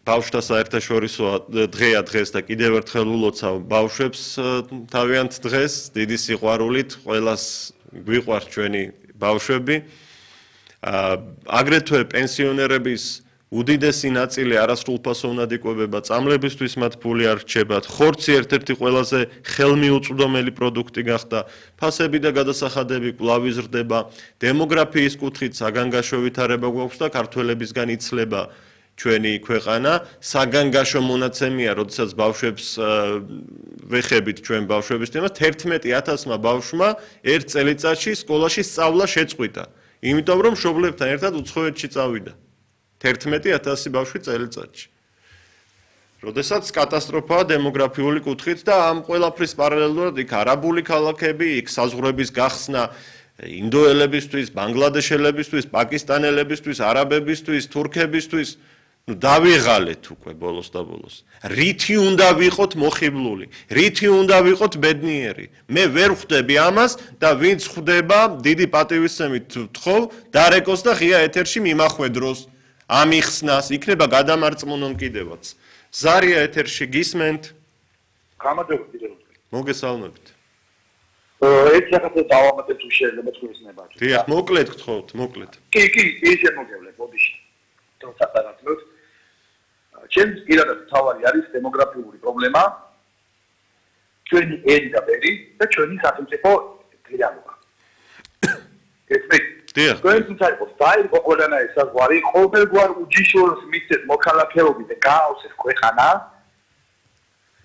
ბავშვთა საერთაშორისო დღეა დღეს და კიდევ ერთხელ ულოცავ ბავშვებს თავიანთ დღეს დიდი სიყვარულით ყველას გვიყვარს ჩვენი ბავშვები აგრეთვე პენსიონერების უდიდესი ნაწილი არასრულფასო უნდა იკვებება წამლებისთვის მათ ფული არ რჩებათ ხორცი ერთ-ერთი ყველაზე ხელმიუწვდომელი პროდუქტი გახდა ფასები და გადასახადები კვლავ იზრდება დემოგრაფიის კუთხით საგანგაშო ვითარება გვაქვს და ქართველებისგან იცლება ჩვენი ქვეყანა საგანგაშო მონაცემია როდესაც ბავშვებს ვეხებით ჩვენ ბავშვების თემას 11000-მა ბავშვმა ერთ წელიწადში სკოლაში სწავლა შეწყვიტა იმიტომ რომ მშობლებთან ერთად უცხოეთში წავიდა 11000 ბავშვი წელიწადში. როდესაც კატასტროფაა დემოგრაფიული კუთხით და ამ ყველაფრის პარალელურად იქ არაბული ქალაქები, იქ საზღვრების გახსნა ინდოელებისთვის, ბანგლადეშელებისთვის, პაკისტანელებისთვის, არაბებისთვის, თურქებისთვის, დავიღალეთ უკვე ბოლოს და ბოლოს. რითი უნდა ვიყოთ მოხიბლული, რითი უნდა ვიყოთ ბედნიერი. მე ვერ ხვდები ამას და ვინც ხვდება, დიდი პატივისცემით ვთხოვ, დარეკოს და ღია ეთერში მიმახვედროს. ამიხსნას იქნება გადამარწმუნონ კიდევაც. ზარია ეთერში გისმენთ? გამარჯობა კიდევ. მოგესალმებით. ერთ საკითხზე დავამატებ თუ შეიძლება თქვენს ნებაში. დიახ, მოკლედ გთხოვთ, მოკლედ. კი, ისე მოგევლე, ბოდიში. თორსა დაგაცნოთ. ჩემს პირადად თავარი არის დემოგრაფიული პრობლემა. ჩვენი ერი და ბერი და ჩვენი სახელმწიფო რეალობა. დიახ. თქვენს საერთოდ დაიღო ყველანაირი საზღვარი, ყოველგვარ უჯიშურს მისცეს მოქალაქეობით და გააოსეს ქვეყანა.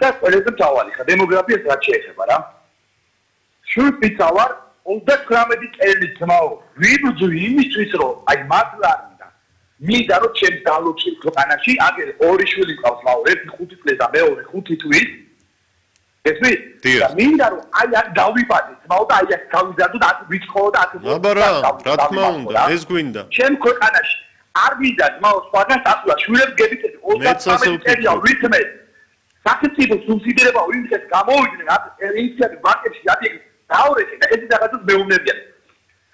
და ყველაზე მთავარი ხა დემოგრაფიას რაც შეეხება რა. შულპიცავარ 39 წელი თმაო. ვიბძვი იმისთვის რომ აი მართლა მინდა რომ ჩემს დალოჩილ ქვეყანაში აგერ ორი შვილი მყავს ლაურ, ერთი 5 წლის და მეორე 5 თვის. ესმის? და მინდა რომ აი აქ დავიბადე, თმაო და აი აქ გავიზარდო და აქ ვიცხოვო და აქ აბარა, რა თქმა უნდა, ეს გვინდა. ჩემ ქვეყანაში არ მინდა თმაო სხვაგან დასვლა, შვილებს გებიწევი 33 წელია ვითმე. სახელმწიფო სუბსიდირება ვინცეს გამოვიდნენ აქ ინიციატივა ბანკებში ადიგი დაურეკე და ეს რაღაცას მეუბნებიან.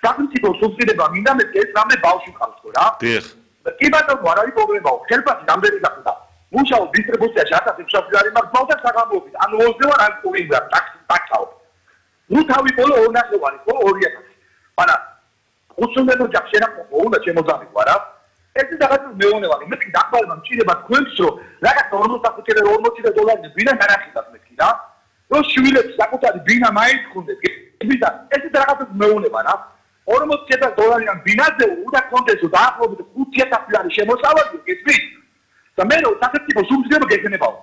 სახელმწიფო სუბსიდირება მინდა მე ეს რამე ბავშვი ყავს ხო რა? დიახ. კი ბატონო, არ არის პრობლემაო. ხელფასი რამდენი გახდა? მუშაობ დისტრიბუციაში 1600 ლარი მაქვს ბავშვს საგამოობით. ანუ 20 ვარ ან პური ვარ, ტაქსაობ. ნუ თავი ბოლო 200 ვარი, ხო 2000. მაგრამ უცნობ ოჯახს შენახო უნდა შემოძამიყვა რა. ეს რაღაცა მეუბნება, მე კი დახმარება მჭირდება თქვენს რომ რაღაც 45 დოლარი ბინა განახილავს მე კი რა. რომ შვილებს საკუთარი ბინა მაინც ხუნდეთ. და ეს რაღაცა მეუბნება რა. 40000 დოლარიან ბინაზე უნდა კონდესო დაახლოებით 5000 ლარი შემოსავალი გესმის? და მე რომ სახელმწიფო სუბსიდირება გექნებაო.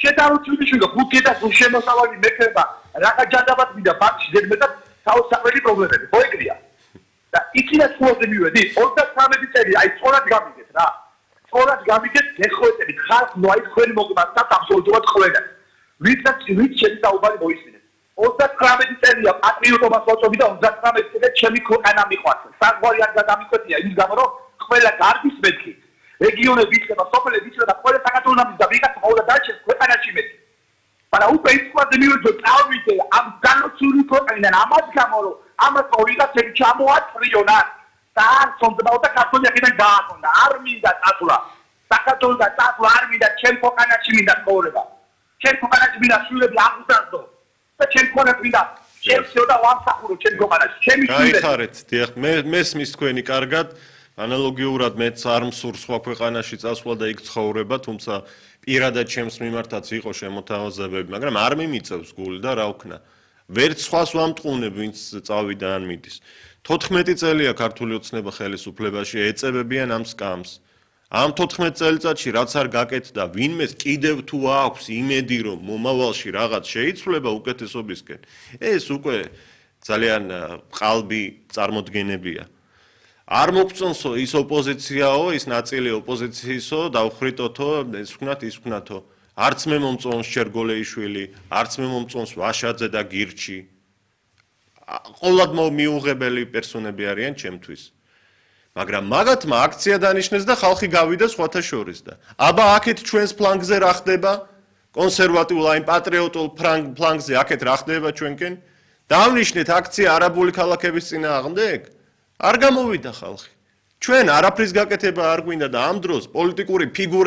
შედარუჩილი 5000 შემოსავალი მექნება რაღა ჯადაბად მინდა ბანკში ზედმეტად საოცარი პრობლემები. ხო ეგრეა. და იქიდან სულაზე მივედი 33 წელი აი სწორად გამიგეთ რა. სწორად გამიგეთ გეხვეწები ხალხ ნუ აი თქვენი მოგმართა აბსოლუტურად ხვენა. ვისაც შეიტაუბარი მოისმინეთ. 39 წელია პატრიოტობა სოწობი და 39 წელი ჩემი ქვეყანა მიყვარს. საგვარი არ გადამიკვეთია იმის გამო რომ ყველა გარდის მეთქი. რეგიონები იწება, სოფლები იწება, ყველა საქართველოს და ვიღაც ყოველ დაჩეს ქვეყანაში მეთქი. მაგრამ უკვე ის ყვაზე მივეძო წავიდე ამ განოცული ქვეყნიდან ამას გამო რომ ამას ვიღაცები ჩამოაწრიონა და არ სონდებაო და ქართოლიაკიდან გააკონდა. არ მინდა წასვლა. საქართველოს და წასვლა არ მინდა ჩემ ქვეყანაში მინდა ცხოვრება. ჩემ ქვეყანაში მინდა შვილები აღუზარდო. და ჩემ ქვეყანაში მინდა შეეცო და ვამსახურო ჩემ ქვეყანაში. ჩემი შვილები. გაიხარეთ, დიახ, მე მესმის თქვენი კარგად. ანალოგიურად მეც არ მსურს სხვა ქვეყანაში წასვლა და იქ ცხოვრება, თუმცა პირადად ჩემს მიმართაც იყო შემოთავაზებები, მაგრამ არ მიმიწევს გული და რა ვქნა. ვერც სხვას ვამტყუნებ, ვინც წავიდა ან მიდის. 14 წელია ქართული ოცნება ხელისუფლებაში ეწებებიან ამ სკამს. ამ 14 წელიწადში რაც არ გაკეთდა, ვინმეს კიდევ თუ აქვს იმედი, რომ მომავალში რაღაც შეიცვლება უკეთესობისკენ, ეს უკვე ძალიან ყალბი წარმოდგენებია. არ მოგწონსო ის ოპოზიციაო, ის ნაწილი ოპოზიციისო, დავხრიტოთო, ეს ვქნათ, ის ვქნათო. არც მე მომწონს შერგოლეიშვილი, არც მე მომწონს ვაშაძე და გირჩი. ყოვლად მიუღებელი პერსონები არიან ჩემთვის. მაგრამ მაგათმა აქცია დანიშნეს და ხალხი გავიდა სხვათა შორის და აბა აქეთ ჩვენს ფლანგზე რა ხდება? კონსერვატიულ აი პატრიოტულ ფლანგზე აქეთ რა ხდება ჩვენკენ? დავნიშნეთ აქცია არაბული ქალაქების წინააღმდეგ? არ გამოვიდა ხალხი. ჩვენ არაფრის გაკეთება არ გვინდა და ამ დროს პოლიტიკური ფიგურები